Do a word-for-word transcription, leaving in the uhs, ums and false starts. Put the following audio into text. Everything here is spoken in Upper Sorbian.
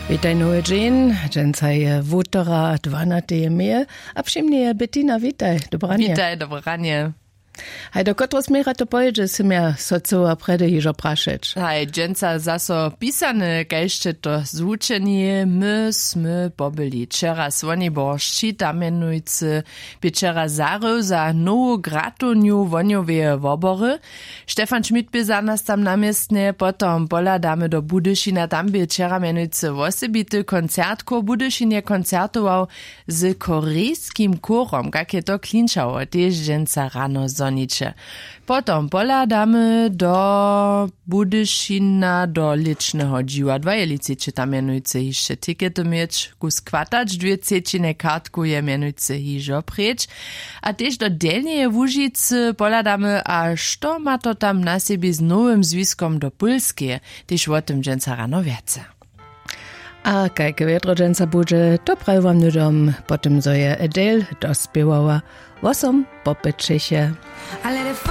Witaj nowy dźeń. Dźensa je wutora dwanateje meje. A při mnje je Bettina. Witaj, dobranje. Witaj, dobranje. Haj, do kotreho směra to pojědźe, sym ja so chcyła prjedy hižo prašeć. Haj, dźensa zaso pisane, kaž sće to zwučeni. My smy pobyli wčera słoniboršći, tam mjenujcy bě wčera zarył za nowu gratownju wohnjoweje wobory. Stefan Schmidt bě za nas tam na městnje. Potom pohladamy do Budyšina, tam bě wčera mjenujcy wosebity koncert. Chór Budyšin je koncertował z korejskim chórom, kak je to klinčało, tež dźensa rano zhoniće. Potom pohladamy do Budyšina, do lěčneho dźiwadła. Jeli chceće tam mjenujcy hišće tikety měć, kus chwatać, dwě třećinje kartkow je mjenujcy hižo preč. A tež do Delnjeje Łužicy pohladamy, a što ma to tam na sebi z nowym zwiskom do Pólskeje, tež wo tym dźensa rano wjace. A kajke wjedro dźensa budźe, to praji wam hnydom po tym, zo je Adele dospěwała wosom po pěćeše.